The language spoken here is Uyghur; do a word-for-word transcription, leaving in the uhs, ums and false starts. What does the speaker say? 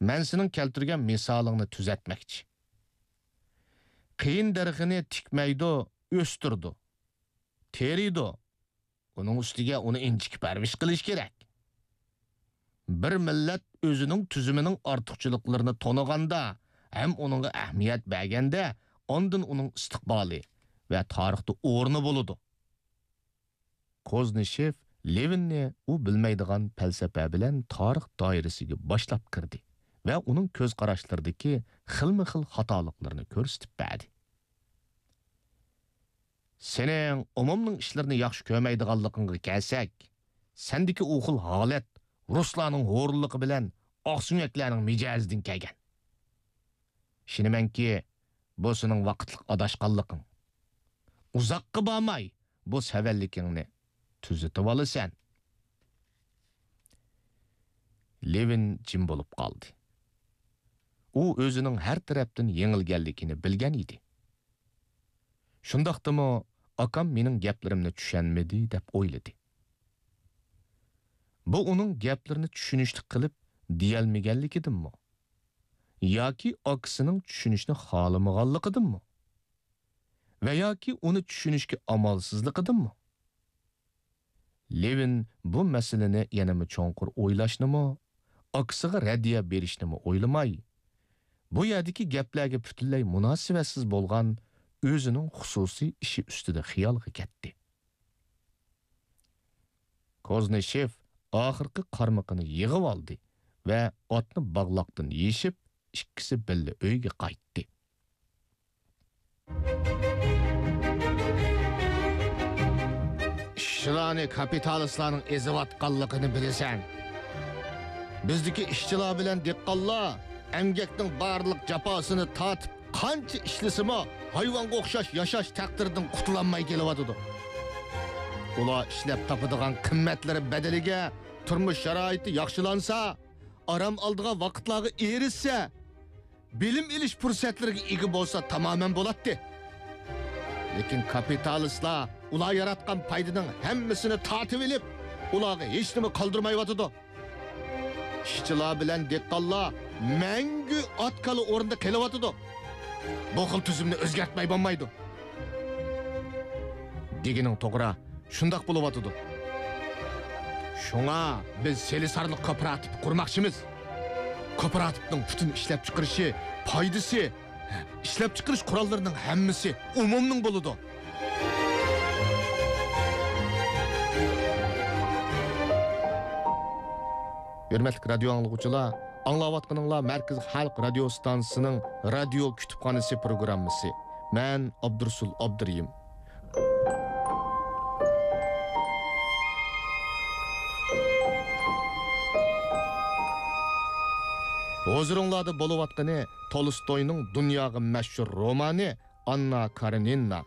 مەن سېنىڭ كەلتۈرگەن مىسالىڭنى تۈزەتمەكچى. قېيىن دەرىخىنى تىكمەيدۇ، ئۆستۈرىدۇ، تېرىيدۇ. ئۇنىڭ ئۈستىگە ئۇنى ئىنچىكە پەرۋىش قىلىش كېرەك. بىر مىللەت ئۆزىنىڭ تۈزۈمىنىڭ ئارتۇقچىلىقلىرىنى تونۇغاندا ھەم ئۇنىڭغا ئەھمىيەت بەرگەندە، ئاندىن ئۇنىڭ ئىستىقبالى ۋە تارىختا ئورنى بولىدۇ. كوزنىشېف لېۋىننى ئۇ بىلمەيدىغان پەلسەپە بىلەن تارىخ دائىرىسىگە باشلاپ كىردى ۋە ئۇنىڭ كۆز قاراشلىرىدىكى خىلمۇ خىل خاتالىقلىرىنى كۆرسىتىپ بەردى. سېنىڭ ئومۇمنىڭ ئىشلىرىنى ياخشى كۆرمەيدىغانلىقىڭغا كەلسەك، سەندىكى ئۇ خىل ھالەت رۇسلارنىڭ ھورۇنلۇقى بىلەن ئاقسۆڭەكلەرنىڭ مىجەزىدىن كەلگەن. ئىشىنىمەنكى، بۇ سېنىڭ ۋاقىتلىق ئاداشقانلىقىڭ. ئۇزاققا بارماي، بۇ سەۋەنلىكىڭنى تۈزىتىۋالىسەن. لېۋىن جىم بولۇپ قالدى. ئۇ ئۆزىنىڭ ھەر تەرەپتىن يېڭىلگەنلىكىنى بىلگەن ئىدى. شۇنداقتىمۇ ئاكام مېنىڭ گەپلىرىمنى چۈشەنمىدى دەپ ئويلىدى. بۇ ئۇنىڭ گەپلىرىنى چۈشىنىشلىك قىلىپ دېيەلمىگەنلىكىدىنمۇ؟ ياكى ئاكىسىنىڭ چۈشىنىشنى خالىمىغانلىقىدىنمۇ؟ ۋە ياكى ئۇنى چۈشىنىشكە ئامالسىزلىقىدىنمۇ؟ لېۋىن بۇ مەسىلىنى يەنىمۇ چوڭقۇر ئويلاشنىمۇ، ئاكىسىغا رەددىيە بېرىشنىمۇ ئويلىماي، بۇ يەردىكى گەپلەرگە پۈتۈنلەي مۇناسىۋەتسىز بولغان ئۆزىنىڭ خۇسۇسىي ئىشى ئۈستىدە خىيالغا كەتتى. كوزنىشېف ئاخىرقى قارمىقىنى يىغىۋالدى ۋە ئاتنى باغلاقتىن يېشىپ، ئىككىسى بىللە ئۆيگە قايتتى. ئىشچىلارنى كاپىتالىستلارنىڭ ئېزىۋاتقانلىقىنى بىلىسەن. بىزدىكى ئىشچىلار بىلەن دېھقانلار ئەمگەكنىڭ بارلىق جاپاسىنى تارتىپ، قانچە ئىشلىسىمۇ، ھايۋانغا ئوخشاش ياشاش تەقدىرىدىن قۇتۇلالماي كېلىۋاتىدۇ. ئۇلار ئىشلەپ تاپىدىغان قىممەتلىرى بەدىلىگە تۇرمۇش شارائىتى ياخشىلانسا، ئارام ئالىدىغان ۋاقىتلارغا ئېرىشسە، بىلىم ئېلىش پۇرسەتلىرىگە ئىگە بولسا تامامەن بولاتتى. لېكىن كاپىتالىستلار ئۇلار ياراتقان پايدىنىڭ ھەممىسىنى تارتىۋېلىپ، ئۇلارغا ھېچنېمە قالدۇرمايۋاتىدۇ. ئىشچىلار بىلەن دېھقانلار مەڭگۈ ئات-كالا ئورنىدا قېلىۋاتىدۇ. بۇ خىل تۈزۈمنى ئۆزگەرتمەي بولمايدۇ. دېگىنىڭ توغرا، شۇنداق بولۇۋاتىدۇ. شۇڭا بىز سېلىسارلىق كوپىراتىپى قۇرماقچىمىز. كوپىراتىپنىڭ پۈتۈن ئىشلەپچىقىرىشى، پايدىسى، ئىشلەپچىقىرىش قوراللىرىنىڭ ھەممىسى ئومۇمنىڭ بولىدۇ. ھۆرمەتلىك رادىيو ئاڭلىغۇچىلار، ئاڭلاۋاتقىنىڭلار مەركىزىي خەلق رادىيو ستانسىسىنىڭ رادىيو كۇتۇپخانىسى پروگراممىسى. مەن ئابدۇرۇسۇل ئابدۇرېھىم. ھۇزۇرۇڭلاردا بولۇۋاتقىنى تولستوينىڭ دۇنياغا مەشھۇر رومانى ئاننا كارېنىنا.